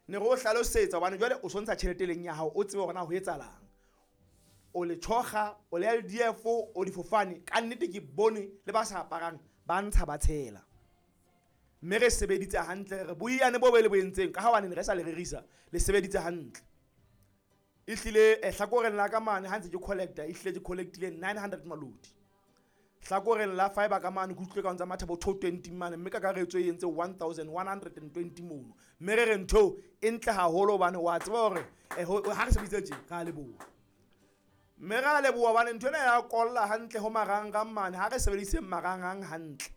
Ne re o hlalosetsa hobane jwale o so ntsha tjhelete e leng ya hao, o tsebe hore na ho etsahalang. O le tjhokga, o le LDF, o difofane, ka nnete ke bone le ba sa aparang ba ntsha ba tshela. Mme re sebeditse hantle, re boiyane bo be le bo entseng ka ha hobane ne re sa le rerisa, le sebeditse hantle. Ehlile hlakoreng la ka mane ha ntse ke collecta, ehlile ke collectile 900 malodi. Hlakoreng la fiber ka mane ke utlwile ka ntsa matha bo 220 mane, mme kakaretso e entse 1120 mono. Mme re re ntho e ntle haholo hobane wa tseba hore ha re sebeditse tje, re a leboha. Mme re a leboha hobane ntho ena ya kolla hantle ho marangrang mane, ha re sebediseng marangrang hantle.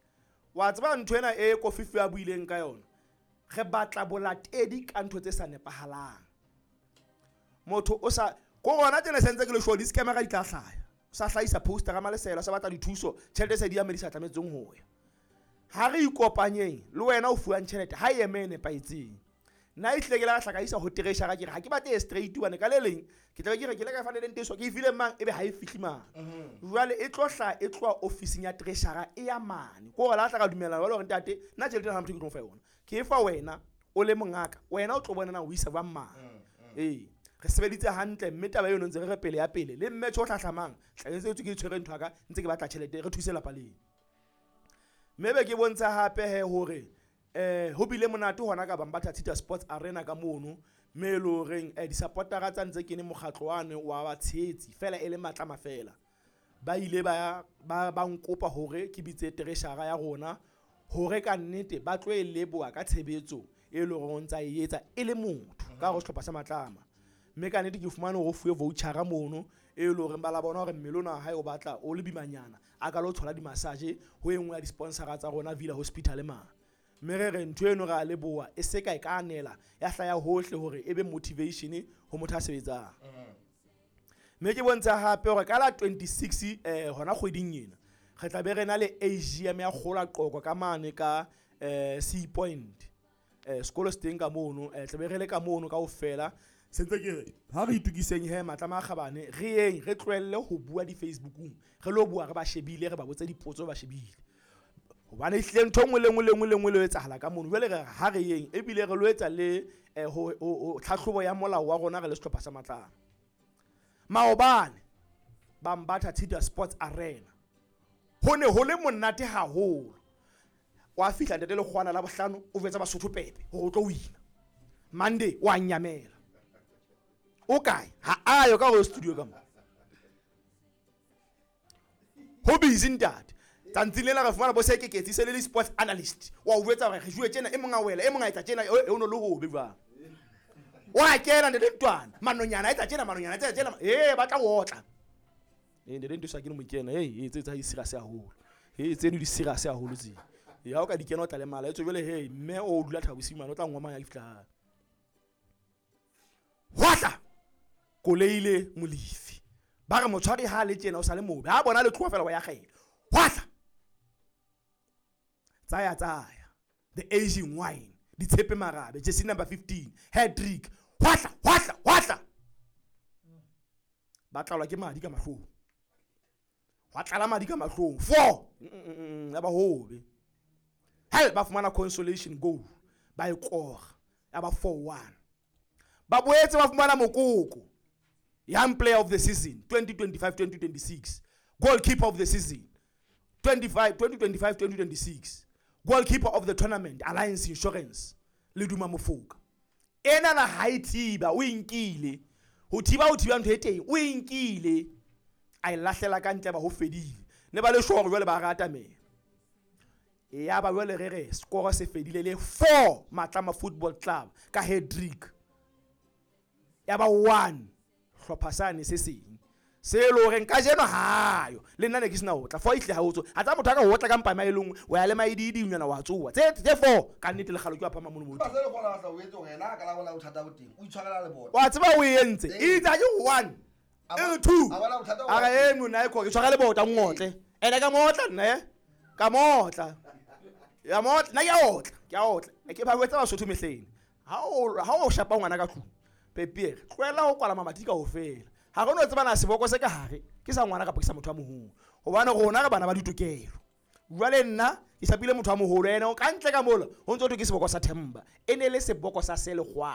Wa tseba ntho ena e Kofifi a buileng ka yona, re batla bolatedi ka ntho tse sa nepahalang. Motho o sa ko rona tjena sentse ke le sure di-scammer di tla hlaya. O sa hlahisa poster ka Malesela, o sa batla dithuso, tjhelete se di ya mme di sa tlametseng ho ya. Ha re ikopanyeng le wena o fuwang tjhelete ha e eme e nepahetseng. Nna ehlile ke la hla ka isa ho treasurer ke re ha ke batle e straight hobane ka le leng ke tla be ke re ke le ka fa le leng teso ke e file mang ebe ha e fihle mane. Jwale e tlo hla e tloha ofising ya treasurer e ya mane. Ke hore la tla ka dumela jwale hore ntate nna tjhelete ena ha motho ke tlo fa yona. Ke e fa wena o le mongaka, wena o tlo bona na o isa jwang mane. Ee, re sebeditse hantle mme taba eno ntse re re pele ya pele le mmetjho o hlahlamang tla ntse ke tshwere ntho ya ka ntse ke batla tjhelete re thuse lapa lena. Mme be ke bontsha hape he hore ho bile monate hona ka Bambatha Tshita Sports Arena ka mono, mme e le horeng di-supportera tsa ntse kene mokgatlo wane wa batshehetsi fela e le matlama fela. Ba ile ba nkopa hore ke bitse treasurer ya rona hore ka nnete ba tlo e leboha ka tshebetso e leng hore o ntsa e etsa e le motho ka hare ho sehlopha sa Matlama. Mme ka nnete ke fumane hore o fuwe voucher mono e leng hore ba la bona hore mmele ona wa hae o batla o le bimanyana a ka lo thola di-massage ho e nngwe ya di-sponsora tsa rona Villa Hospital mane. Mme re re ntho eno re a leboha e se ka e ka anela ya hlaya hohle hore e be motivation ho motho a sebetsang. Mme ke bontsha hape hore ka la 26 hona kgweding ena re tla be re na le AGM ya Kgola Qoko ka mane ka Sea Point. Sekolo se teng ka mono, tla be re le ka mono kaofela. Se ntse ke re ha re itukiseng he Matlama a Kgabane, re yeng re tlohelle ho bua di-Facebookung, re lo bua re ba shebile, re ba botse dipotso ba shebile. Hobane ehlile ntho e nngwe le nngwe le nngwe le nngwe le etsahala ka mono. Jwale re ha re yeng ebile re lo etsa le ho tlhahlobo ya molao wa rona re le sehlopha sa Matlama. Maobane Bambatha Tshita Sports Arena ho ne ho le monate haholo. Wa fihla ntate Lekgwana la bohlano o jwetsa Basotho pepe hore o tlo wina. Monday wa nyamela. O kae? Ha ayo ka ho studio ka mo. Ho busy ntate. Tsantsing lena re fumana bo Sekeketsi se le le sports analyst. Wa o jwetsa hore re jwe tjena e mong a wela, e mong a etsa tjena, e o no le hobe jwang. Wa kena ntate Ntwana, manonyana a etsa tjena, manonyana a etsa tjena. Ba tla otla. Ntate Ntwana ke no mo kena. Tse tsa di serious haholo. Tseno di serious haholo tse. Ya o ka di kena o tla lemala. Etswe jwale he mme o dula Thabosing mane o tla ngoma ya fihla hae. Hwatla Koleile Molefi. Ba re motshwari ha le tjena o sa le mobe. Ha bona le tloha fela wa ya kgela. Hwatla. Tsaya tsaya. The Asian wine. Ditshepe Marabe, jersey number 15, hat-trick. Hwatla, hwatla, hwatla. Ba tlalwa ke madi ka mahlong. Hwa tlala madi ka mahlong. 4. Ya ba hobe. Hell ba fumana consolation goal. Ba e kora. Ya ba 4-1. Ba boetse ba fumana mokoko. Young player of the season 2025-2026. Goalkeeper of the season 2025-2026. Goalkeeper of the tournament Alliance Insurance Leduma Mofoka. Ena na ha e thiba o inkile. Ho thiba ntho e teng o inkile. A e lahlela ka ntle ba ho fedile. Ne ba le sure jwale ba rata me. Ya ba jwale re re score se fedile le 4 Matlama Football Club ka hat-trick. Ya ba 1 hlopha sane se seng. Se le horeng kajeno hayo le nna ne ke sena ho tla fo itle ha o tso a tsa motho a ka ho tla ka mpama e lengwe wa ya le maididi nyana wa tsoa tse 4 ka nnete le kgalo ke wa phama mono mo ba se le gona tla o etsa hore yena a ka la bona bothata bo teng o itshwarela le bona wa tseba o entse itse ke 1 e 2 a bona bothata a re e mona e ko ke tshwara le bota ngotle ene ka motla nna ka motla ya motla nna ke a otla ke ba wetsa Basotho mehleng ha o shapa ngwana ka tlung Pepiere tlohela ho kwala mamati ka ofela. Ha re no tseba na seboko se ka hare ke sa ngwana kapa ke sa motho a moholo hobane rona re bana ba ditokelo. Jwale nna ke shapile motho a moholo ene o ka ntle ka mola ho ntse ho thwe ke seboko sa Themba e ne le seboko sa Selekgwa.